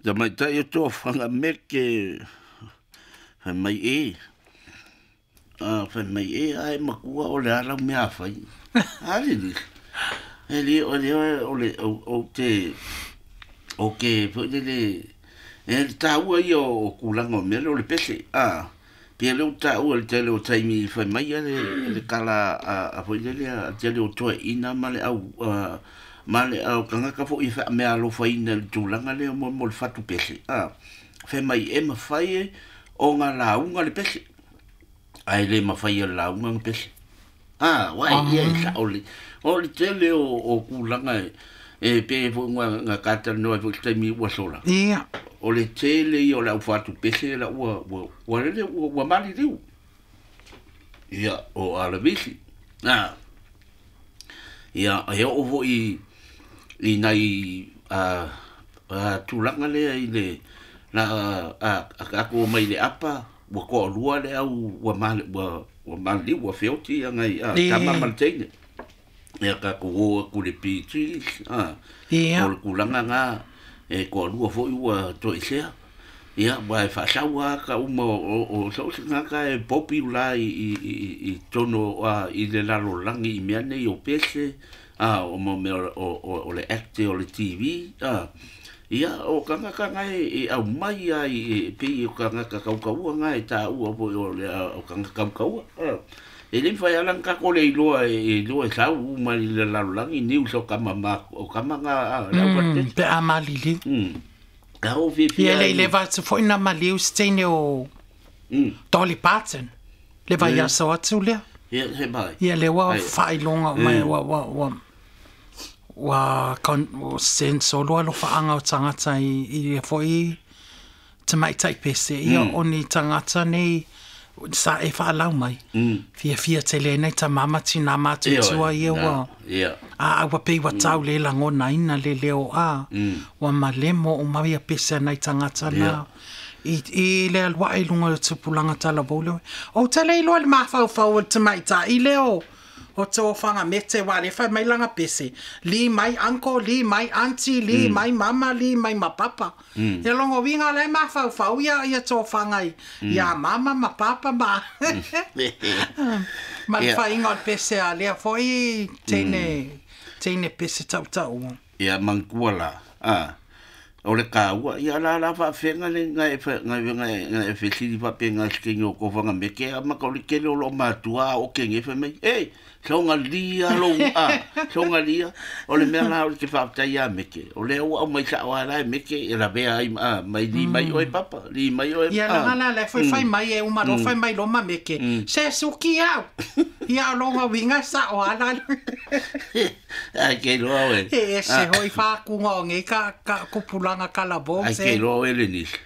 Tamaitai o tofaga meke fai mai e. A fai mai e ae matua o le ala mea a fai. A le ni. E le o le o le o te o ke foi le le e le taua ia o tulaga o mea lea o le pese. A pei lea ua taua i le tele o taimi fai mai a le tala a foi lele a tele o toeaiina ma le au ma le au tagata foi e faameaalofaina i le tulaga lea mo le fatu pese. A fai mai e mafai ona lauga le pese ae le mafai e le lauga ona pese. A uae ia e sa'o le o le tele o tulaga e pei foi na talanoa ai foi i se taimi ua sola. Ia. O le tele ia o le aufatu pese la ua ua ua lele ua maliliu. Ia o alavisi. A ia e oo foi i nai tulaga lea i le la a tatou omai i le apa ua toalua le au ua ua ua maliliu ua feoti ia nai tama ma le teine. Ia tatou o atu i le PG a o le tulaga na e toalua foi ua toesea. Ia ua e faasau lava ta uma o so o se tagata e popular i totonu i le lalolagi i mea nei o pese a o mo mea o le act o le TV a ia o tagata na e aumai ai e pei o tagata tautaua na e taua foi o le o tagata tautaua. E le mafai lava ona tatou le iloa e iloa e sau uma i le lalolagi news o tama ma o tama na le au Pe a maliliu. A o fiafia. Ia le i leva atu foi na maliu se teine o Dolly Parton. Le vaiaso atu lea. Ia se mai. Ia le ua faailoga mai ua ua ua ua kon sensolo alofaaga o tagata i ia foi tamaitai pese ia o ni tagata nei sa e faalau mai. Fiafia tele ai nai tama ma tinā matutua ia ua a ua pei ua tau le lagonaina le leo a ua malemo uma ia pese a nai tagata na i le alu ae i luga o le tupulaga talavou lea. Ou te le iloa i le mafaufau o le tamaitai lea o o tofaga mete aua o lea e fai mai lana pese, li mai uncle, li mai aunty, li mai mama, li mai ma papa. Ia lona uiga o la e mafaufau ia ia tofaga i ia mama ma papa ma ma le faiga o le pese a lea foi teine teine pese tautau. Ia manatua la, a, o le taua, ia la la faafega le na e na na e fesili faapena i se taimi o tofaga meke a maka o le tele o loo matua a o kege fai mai, e, sogalia lou a, sogalia, o le mea la o le te faafetai ia Meke, o lea ua aumai sao lava la e Meke e lavea ai a, mai li mai oe papa, li mai oe Ia a. leaga la la foi fai mai e uma loa fai mai loa ma Meke, se suki au. Ia o lona uiga e sao lava la. Ai ke iloa oe. E ese hoi whākunga o nei ka, ka kupulanga kalabo Ai se. ke iloa oe le nisi.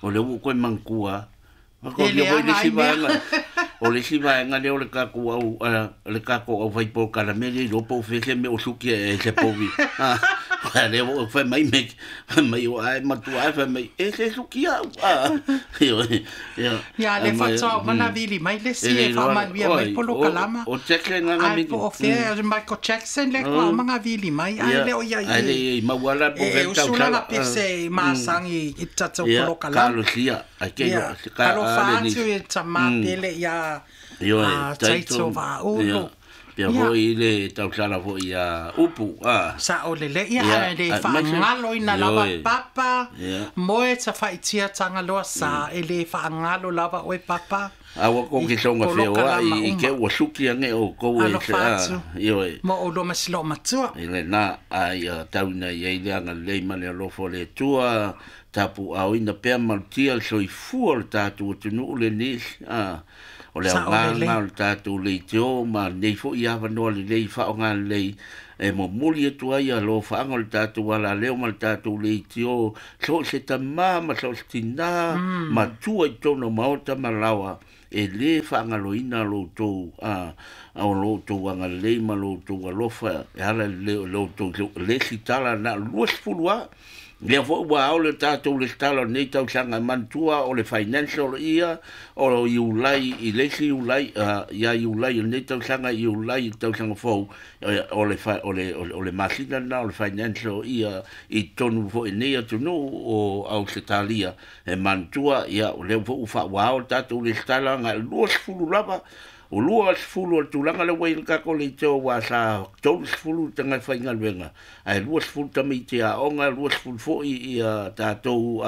O lea ua ou toe manatua E O le leaga ai isi mea. vaega, o le isi vaega lea o le tatou au le tatou au fai polokalame le iloa po o fea se mea o suki e se povi. A lea ua fai mai me fai mai o ae matua ae fai mai e se suki au. Ioe. Ia. Ia le Mai faatoa uma na vili mai le e isi le e iloa faamanuia mai oi polokalama. o Jackson nga Ai mi. po o fea Michael Jackson le kua uma vili mai ai Ia. le o ia Ai le i i maua la po e fe usu lana tausala. pese masangi i tatou Ia polokalama. kalosia ai ke Ia, iloa ka alofa a le atu nisi. i tamā pele ia Ioe, a Taito Taito, Vaaulu. ia, pea Ia, foi le tausala foi ia upu, a, sa o lele ia ia, ae le a, mai se, faagaloina lava ioe, papa, ia. moe tafa'itiataga loa sa e lē faagalo lava oe papa A ua i koke songa feoai polokalama i ke uma. ua suki ange o kou e se Alofa a, atu ioe, mo oulua ma siloo matua. i le na a ia tauna i ai le agalelei ma le alofa o le Atua, tapu aoina pea malutia le soifua o le tatou atunuu lenei, a, o le Sa o aoga lelei. lena o le tatou leitio ma lenei foi avanoa lelei faaaoga lelei e momoli atu ai alofaaga o le tatou alaleo ma le tatou leitio so o se tamā ma so o se tinā matua i totonu o maota ma laoa e lē faagaloina loutou a o loutou agalelei ma loutou alofa e ala i le loutou le isi tala na o le 20 lava Lea fo'i ua ao le tatou lesitala o lenei tausaga e manatua o le financial ia o Iulai i le isi Iulai ia Iulai o lenei tausaga Iulai i le tausaga fou o le o le o le masina lena o le financial ia i totonu foi nei atunuu o Ausetalia e manatua ia o lea foi ua faauao le tatou lesitala agai le 20 lava o 20 o le tulaga lea ua i le tatou leitio ua sa 30 tagata faigaluega ae 20 tamaiti aoga 20 foi ia tatou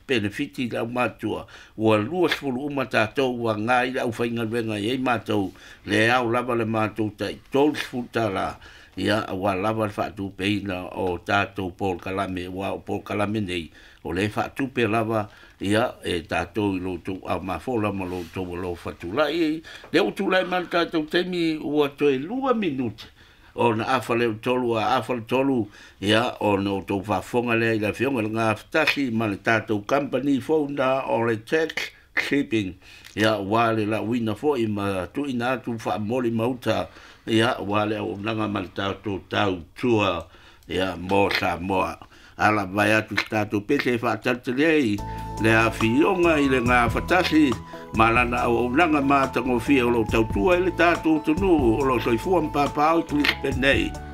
penefiti le aumatua ua 20 uma tatou ua agai le aufaigaluega e i ai matou le ao lava le matou tai $30 ia aua lava le faatupeina o tatou polokalame ua o polokalame nei o le faatupe lava ia e tatou i lo outou aumafola ma lo outou alofa tulai lea ua tulai mai le tatou taimi ua toe 2 minute ona afa lea o le 3 a afa le 3 ia ona outou faafofoga lea i le afioga i le gafatasi ma le tatou company fou na o le Tax Shipping ia ua le lauina foi ma tuuina atu faamoli mauta ia ua le auaunaga ma le tatou tautua ia mo Samoa. Ala vai atu se tatou pese e faatalitali ai le afioga i le gafatasi ma lana auaunaga matagofie o loo tautua i le tatou atunuu o loo soifua ma papaaao i Brisbane nei.